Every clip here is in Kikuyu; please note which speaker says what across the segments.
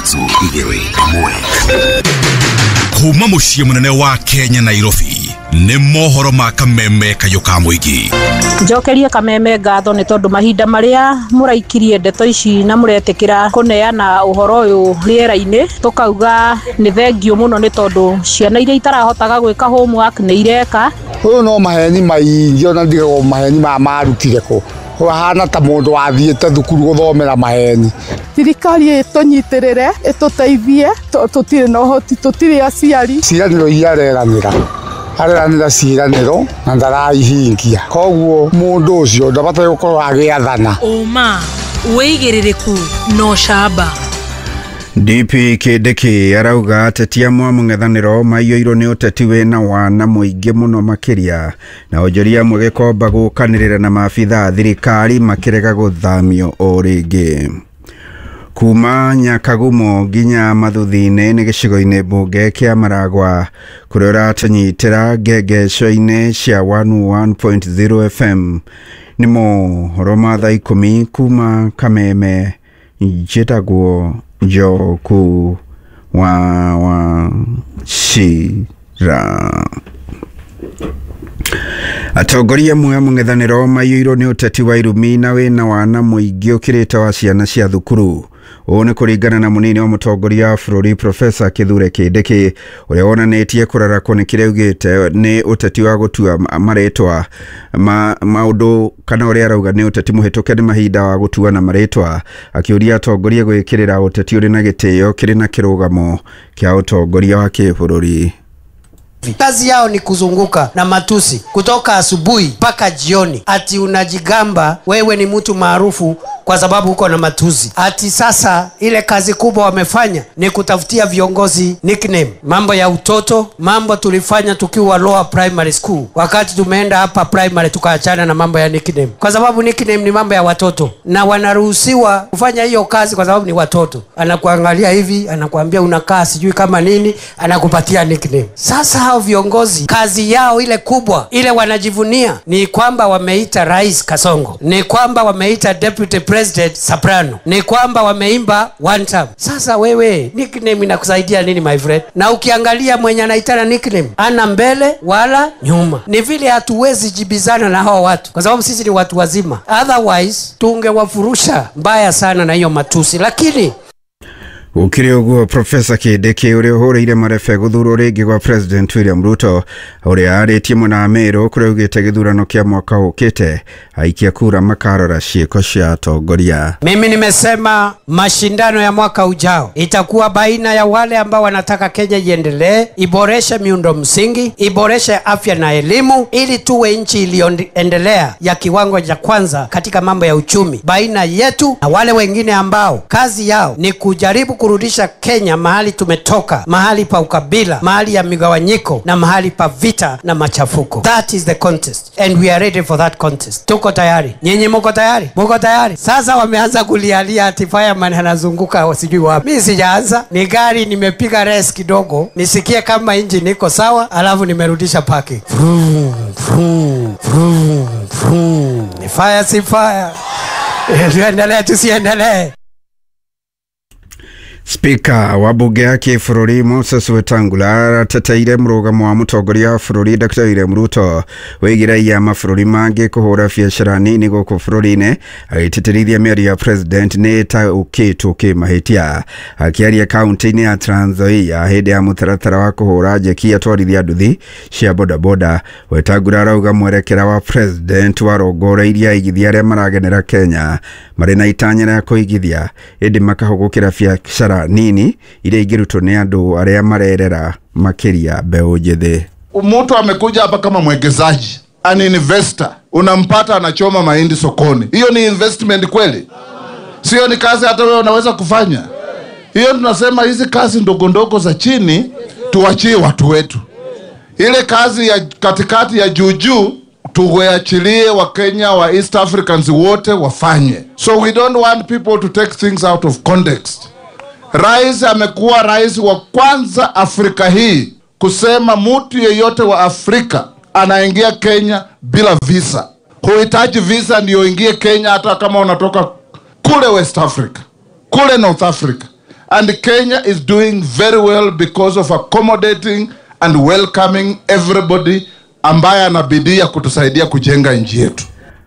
Speaker 1: 3 2 1. Kuma muciĩ mũnene wa Kenya Nairobi nĩ mohoro ma Kameme kayũ ka mũingĩ.
Speaker 2: Njokerie Kameme ngatho nĩ tondũ mahinda marĩa mũraikirie ndeto ici na mũretĩkĩra kũneana ũhoro ũyũ rĩera-inĩ, tũkauga nĩ thengiũ mũno nĩ tondũ ciana iria itarahotaga gwĩka homework nĩ ireka.
Speaker 3: Ũyũ no maheni maingĩ, ona ndigagwo maheni maya marutire kũ. Ũhana ta mũndũ wathiĩte thukuru gũthomera maheni.
Speaker 4: Thirikari ĩtũnyitĩrĩre, ĩtũteithie, tũtirĩ na ũhoti, tũtirĩ aciari.
Speaker 3: Ciĩranĩro iria areranĩra, areranĩra ciĩranĩro na ndaraihingia. Koguo mũndũ ũcio ndabataire gũkorwo agĩathana.
Speaker 5: Ũma, wĩigĩrĩrĩku na ũcamba.
Speaker 6: DP Kindiki arauga ateti amwe a mũng'ethanĩro maiyũirwo nĩ ũteti wĩna wana mũingĩ mũno makĩria, na onjoria amwe gĩkomba gũkanĩrĩra na maabitha a thirikari makĩrega gũthamio o rĩngĩ. Kuma Nyakagumo nginya Mathuthi-inĩ nĩ gĩcigo-inĩ mbunge kĩa Maragwa kũrĩa ũratũnyitĩra ngengeco-inĩ cia 101.0 FM. Nĩ mohoro ma thaa 10 kuma Kameme. Njĩtagwo Njoku wa Wachira. Atongoria amwe a mũng'ethanĩro maiyũirwo nĩ ũteti wa irumi na wĩna wana mũingĩ ũkĩrĩte wa ciana cia thukuru. Ũũ nĩ kũringana na mũnini wa mũtongoria wa bũrũri Profesa Kithure Kindiki ũrĩa wonanĩtie kũrarakwo nĩ kĩrĩa augĩte nĩ ũteti wa gũtua marĩtwa ma maũndũ, kana ũrĩa arauga nĩ ũteti mũhĩtũke nĩ mahinda wa gũtuana marĩtwa, akĩũria atongoria gwĩkĩrĩra ũteti ũrĩ na gĩtĩo kĩrĩ na kĩrũgamo kĩa ũtongoria wa kĩbũrũri.
Speaker 7: Kazi yao ni kuzunguka na matusi kutoka asubuhi mpaka jioni, ati unajigamba wewe ni mtu maarufu kwa sababu uko na matusi. Ati sasa ile kazi kubwa wamefanya ni kutafutia viongozi nickname. Mambo ya utoto, mambo tulifanya tukiwa lower primary school. Wakati tumeenda hapa primary tukaachana na mambo ya nickname, kwa sababu nickname ni mambo ya watoto na wanaruhusiwa kufanya hiyo kazi kwa sababu ni watoto. Anakuangalia hivi, anakuambia unakaa sijui kama nini, anakupatia nickname. Sasa hao viongozi kazi yao ile kubwa ile wanajivunia ni kwamba wameita Rais Kasongo, ni kwamba wameita Deputy President Soprano, ni kwamba wameimba one time. Sasa wewe nickname inakusaidia nini my friend? Na ukiangalia mwenye anaitana nickname ana mbele wala nyuma. Ni vile hatuwezi jibizana na hao watu kwa sababu sisi ni watu wazima, otherwise tungewafurusha mbaya sana na hiyo matusi. Lakini
Speaker 6: Gũkĩrĩ ũguo, Profesa Kindiki ũrĩa ũhũrĩire marebe gũthurwo rĩngĩ gwa President William Ruto ũrĩa arĩtie mwena wa Meru kũrĩa augĩte gĩthurano kĩa mwaka ũkĩte aikia kura makarora ciĩko cia atongoria.
Speaker 7: Mimi nimesema mashindano ya mwaka ujao itakuwa baina ya wale ambao wanataka Kenya iendelee, iboreshe miundo msingi, iboreshe afya na elimu, ili tuwe nchi iliyoendelea ya kiwango cha kwanza katika mambo ya uchumi, baina yetu na wale wengine ambao kazi yao ni kujaribu kurudisha Kenya mahali tumetoka, mahali pa ukabila, mahali ya migawanyiko na mahali pa vita na machafuko. That is the contest and we are ready for that contest. Tuko tayari. Nyinyi mko tayari? Mko tayari? Sasa wameanza kulialia ati fireman anazunguka sijui wapi. Mimi sijaanza. Ni gari nimepiga race kidogo, nisikie kama engine iko sawa, alafu nimerudisha parking. Vroom, vroom, vroom, vroom. Ni fire si fire. Tuendelee tusiendelee.
Speaker 6: Speaker wa bunge ya kĩbũrũri Moses Wetangula arateteire mũrũgamo wa mũtongoria wa bũrũri Dr. William Ruto wĩgiĩ raia mabũrũri mangĩ kũhũra biacara nini gũkũ bũrũri-inĩ, agĩtĩtĩrithia mĩario ya president nĩ ĩtaũkĩtwo kĩmahĩtia. Akĩaria kaunti-inĩ ya Trans Nzoia hĩndĩ ya mũtaratara wa kũhũra njeki atwarithia nduthi cia bodaboda, Wetangula arauga mwerekera wa president warongoreirie aigithia arĩa maragenera Kenya marĩ na itanya rĩa kũigithia ĩndĩ makahũgũkĩra biacara nini iria ingĩrutwo nĩ andũ arĩa marerera makĩria mbeũ njĩthĩ.
Speaker 8: Mtu amekuja hapa kama mwekezaji, an investor, unampata anachoma mahindi sokoni. Hiyo ni investment kweli? Sio ni kazi hata wewe unaweza kufanya? Hiyo tunasema hizi kazi ndogo ndogo za chini tuachie watu wetu. Ile kazi ya katikati ya juu juu tuweachilie wa Kenya wa East Africans wote wafanye. So we don't want people to take things out of context. Rais amekuwa rais wa kwanza Afrika hii kusema mtu yeyote wa Afrika anaingia Kenya bila visa. Huhitaji visa ndio ingie Kenya hata kama unatoka kule West Africa, kule North Africa. And Kenya is doing very well because of accommodating and welcoming everybody ambaye ana bidii ya kutusaidia kujenga nchi yetu.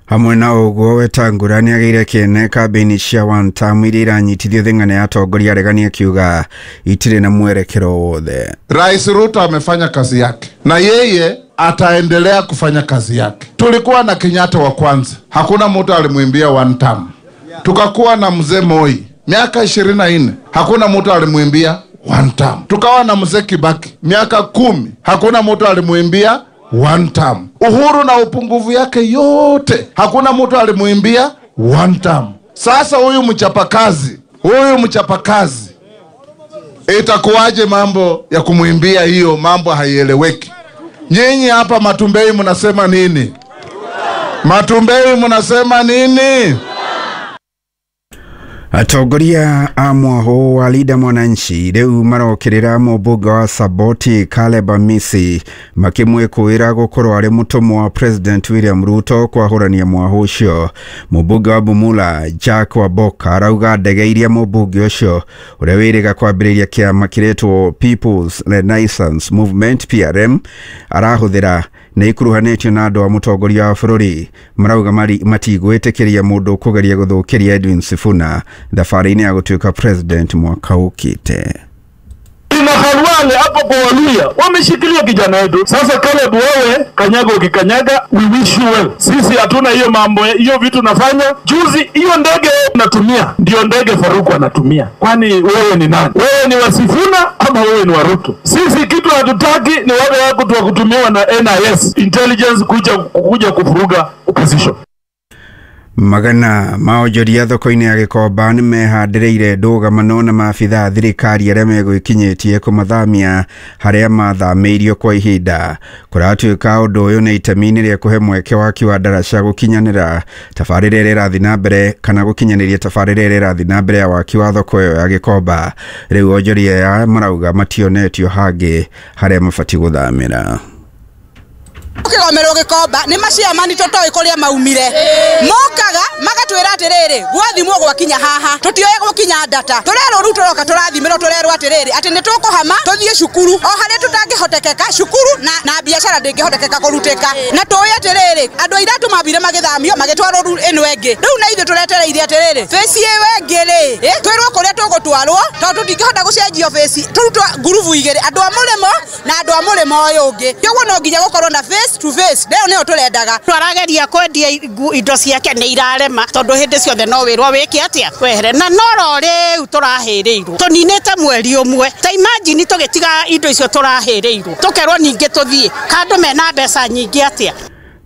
Speaker 6: Hamwe na ũguo Wetangula nĩagĩire kĩene kambĩini cia one term iria iranyitithio thing'ana ya atongoria aregani akiuga itirĩ na mwerekero wothe.
Speaker 8: Rais Ruto amefanya kazi yake na yeye ataendelea kufanya kazi yake. Tulikuwa na Kenyatta wa kwanza, hakuna mtu alimwimbia one term. Tukakuwa na mzee Moi miaka 24, hakuna mtu alimwimbia one term. Tukawa na mzee Kibaki miaka 10, hakuna mtu alimwimbia one term. Uhuru na upungufu yake yote, hakuna mtu alimuimbia one term. Sasa huyu mchapakazi itakuwaje mambo ya kumuimbia hiyo? Mambo haieleweki. Nyinyi hapa Matumbei mnasema nini? Matumbei mnasema nini?
Speaker 6: Atongoria a mwaho wa Linda Mwananchi rĩu marokĩrĩra mũmbunge wa Saboti Caleb Amisi makĩmwĩkũĩra gũkorwo arĩ mũtũmwo wa President William Ruto kwahũrania mwaho ũcio. Mũmbunge wa Bumula Jack Waboka arauga ndege iria mũmbunge ũcio ũrĩa wĩrĩga kwambĩrĩria kĩama kĩretwo People's Renaissance Movement PRM arahũthĩra nĩ ikuruhanĩtio na andũ a mũtongoria wa bũrũri. Marauga matigwĩtĩkĩria mũndũ kũgeria gũthũkĩria Edwin Sifuna thabarĩ-inĩ ya gũtuĩka president mwaka ũkĩte.
Speaker 9: Ina Khalwale hapo kwa Waluya wameshikilia kijana wetu. Sasa Caleb, wewe kanyaga ukikanyaga, we wish you well. Sisi hatuna hiyo mambo, hiyo vitu nafanya. Juzi hiyo ndege natumia ndio ndege Faruku anatumia. Kwani wewe ni nani? Wewe ni wa Sifuna ama wewe ni wa Ruto? Sisi kitu hatutaki ni wale wako tu kutumiwa na NIS intelligence kuja kufuruga opposition.
Speaker 6: Magana maonjoria thoko-inĩ ya Gĩkomba nĩ mehandĩrĩire ndũgamano na maabithaa thirikari arĩa megwĩkinyĩtie kũmathamia harĩa mathamĩirio kwa ihinda. Kũratuĩka ũndũ ũyũ nĩ itemi-inĩ rĩa kũhe mweke waki wa ndaraca gũkinyanĩra tabarĩra ĩrĩa ĩrathiĩ na mbere kana gũkinyanĩria tabarĩra ĩrĩa ĩrathiĩ na mbere ya waki wa thoko ĩyo ya Gĩkomba. Rĩu onjoria aya marauga mationetio hangĩ harĩa mabatiĩ gũthamĩra.
Speaker 10: Kigomerwo Gikomba ni maciamani totoi kuria maumire mokaga magatwira atiriri gwathimwo gwakinya haha tutioe gukinya ndata turerwo riu turoka turathimirwo turerwo atiriri ati ni tukuhama tuthie cukuru o haria tutangihotekeka cukuru na biacara ndingihotekeka kurutika na tuwe atiriri andu airatu mambire magithamio magitwarwo ru ino ingi riu na ithu turetereire atiriri face iwe ingi ri twirwo kuria tugutwarwo tondu tũtingĩhota gucenjio face turutwo ngurubu igiri andu a murimo na andu a murimo uyu ungi koguo no nginya gukorwo na face to face leo nio turendaga
Speaker 11: twarageria kwendia indo ciake ni irarema tondu hindi ciothe no wirwo wike atia wehere na noro riu turahiriirwo tuninite mweri umwe ta imagine tugitiga indo icio turahiriirwo tukerwo ningi tuthie kandu mena mbeca nyingi atia.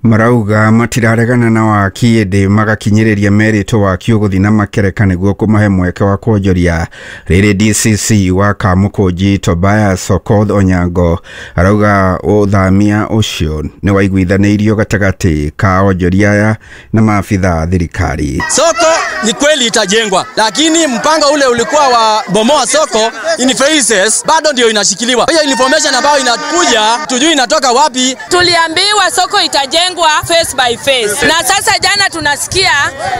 Speaker 6: Marauga matiraregana na waki ĩndĩ magakinyĩrĩria merĩtwo waki ũgũthiĩ na makereka nĩguo kũmahe mweke wa kwonjoria. Rĩrĩ DCC wa Kamũkũnji Tobias Okoth Onyango arauga ũthamia ũcio nĩ waiguithanĩirio gatagatĩ ka onjoria aya na maabithaa thirikari.
Speaker 12: Soko ni kweli itajengwa, lakini mpango ule ulikuwa wa bomoa soko in phases bado ndio inashikiliwa. Hiyo information ambayo inakuja tujui inatoka wapi.
Speaker 13: Tuliambiwa soko itajengwa face by face. Na sasa jana tunasikia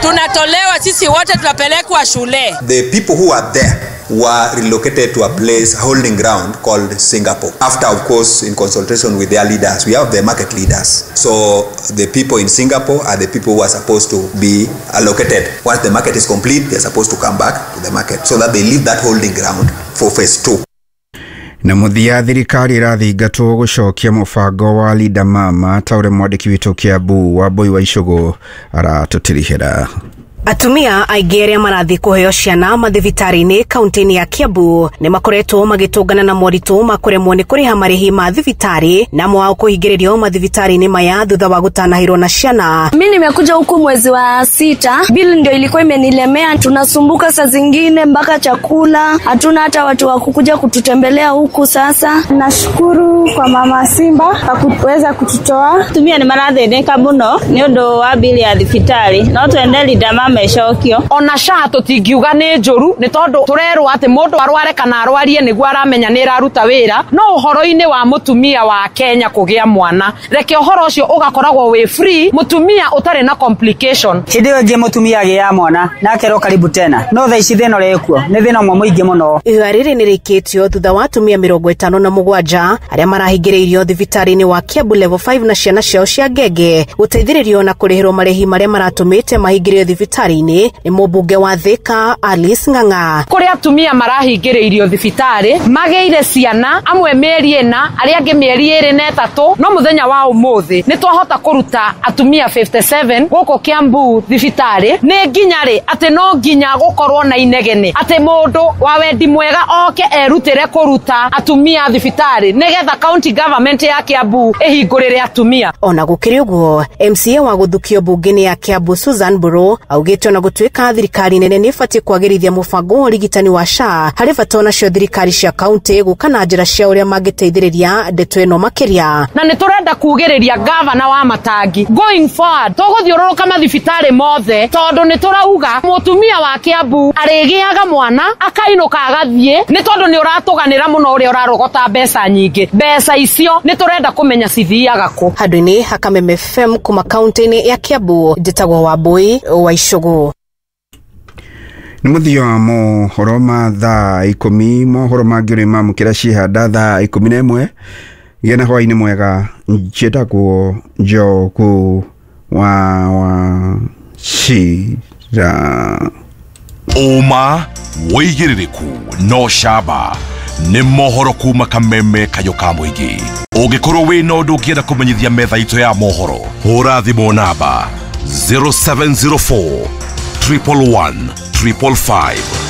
Speaker 13: tunatolewa sisi wote tunapelekwa shule.
Speaker 14: The people who are there were relocated to a place holding ground called Singapore. After, of course, in consultation with their leaders, we have the market leaders. So the people in Singapore are the people who are supposed to be allocated. Once the market is complete, they're supposed to come back to the market so that they leave that holding ground for phase 2.
Speaker 6: Na muthia thirikari irathingatwo gucokia mubango wa Linda Mama ta uria mwandiki witũ Kiambu Wambui wa Icũgũ aratutirihĩra.
Speaker 15: Atumia aingĩ arĩa marathiĩ kũheo ciana mathibitarĩ-inĩ kaunti-inĩ ya Kiambu nĩ makoretwo magĩtũngana na moritũ ma kũremwo nĩ kũrĩha marĩhi ma thibitarĩ na mwao kũhingĩrĩrio mathibitarĩ-inĩ maya thutha wa gũtanahĩrwo na ciana.
Speaker 16: Mimi nimekuja huku mwezi wa 6, bili ndio ilikuwa imenilemea, tunasumbuka saa zingine mpaka chakula hatuna, hata watu wa kukuja kututembelea huku. Sasa
Speaker 17: nashukuru kwa Mama Simba kwa kuweza kututoa.
Speaker 18: Tumia nĩ marathĩnĩka mũno nĩ ũndũ wa bili ya thibitarĩ no twende Linda Mama mecokio.
Speaker 19: Ona SHA tũtingiuga nĩ njũru nĩ tondũ tũrerwo atĩ mũndũ arware kana arwarie nĩguo aramenya nĩ ĩraruta wĩra, no ũhoro-inĩ wa mũtumia wa Kenya kũgĩa mwana, reke ũhoro ũcio ũgakoragwo wĩ free, mũtumia ũtarĩ na complication.
Speaker 20: Hĩndĩ ĩyo ĩngĩ mũtumia agĩaga mwana na akerwo karibu tena, no thaa ici thĩna ũrĩa wĩkuo nĩ thĩna ũmwe mũingĩ mũno.
Speaker 15: Ihoya rĩrĩ nĩ rĩkĩtio thutha wa atumia 57 arĩa marahingĩrĩirio thibitarĩ-inĩ wa Kiambu Level 5 na ciana ciao cia ngenge gũteithĩrĩrio na kũrĩhĩrwo marĩhi marĩa maratũmĩte mahingĩrĩrio thibitarĩ-inĩ nĩ mũmbunge wa Thika Alice Ng'ang'a.
Speaker 19: Kũrĩ atumia marahingĩrĩirio thibitarĩ magĩire ciana, amwe mĩeri 4, arĩa angĩ mĩeri 2 na 3, no mũthenya wa ũmũthĩ nĩ twahota kũruta atumia 57 gũkũ Kiambu thibitarĩ. Nĩ nginya rĩ atĩ no nginya gũkorwo na inegene atĩ mũndũ wa wendi mwega oke erutĩre kũruta atumia thibitarĩ nĩgetha county government ya Kiambu ĩhingũrĩre atumia.
Speaker 15: Ona gũkĩrĩ ũguo, MCA wa gũthukio mbunge-inĩ ya Kiambu Susan Mburu augĩte ona gũtuĩka thirikari nene nĩ ĩbatiĩ kwagĩrithia mũbango wa ũrigitani wa SHA, harĩ bata onacio thirikari cia kaunti gũka na njĩra cia ũrĩa mangĩteithĩrĩria ndeto ĩno makĩria.
Speaker 19: Na nĩ tũrenda kugĩrĩria gavana wa Matangi going forward tũgũthiũrũrũka mathibitarĩ mothe tondũ nĩ tũrauga mũtumia wa Kiambu arĩgĩaga mwana akainũka agathiĩ nĩ tondũ nĩ ũratũganĩra mũno ũrĩa ũrarogota mbeca nyingĩ. Mbeca icio nĩ tũrenda kũmenya cithiaga kũ.
Speaker 15: Handũ-inĩ ha Kameme FM kuma kaunti-inĩ ya Kiambu, njĩtagwo Wambui wa Icũgũ.
Speaker 6: Nĩ mũthia wa mohoro ma thaa 10, mohoro mangĩ ũrĩ mamũkĩra cihanda thaa 11. Gĩa na hwaĩ-inĩ mwega, njĩtagwo Njogu wa Wachira.
Speaker 1: Ũma wĩigĩrĩrĩku no camba nĩ mohoro kuma Kameme kayũ ka mũingĩ. Ũngĩkorwo wĩna ũndũ ũngĩenda kũmenyithia metha itũ ya mohoro, hũra thimũ namba 0704 111 555.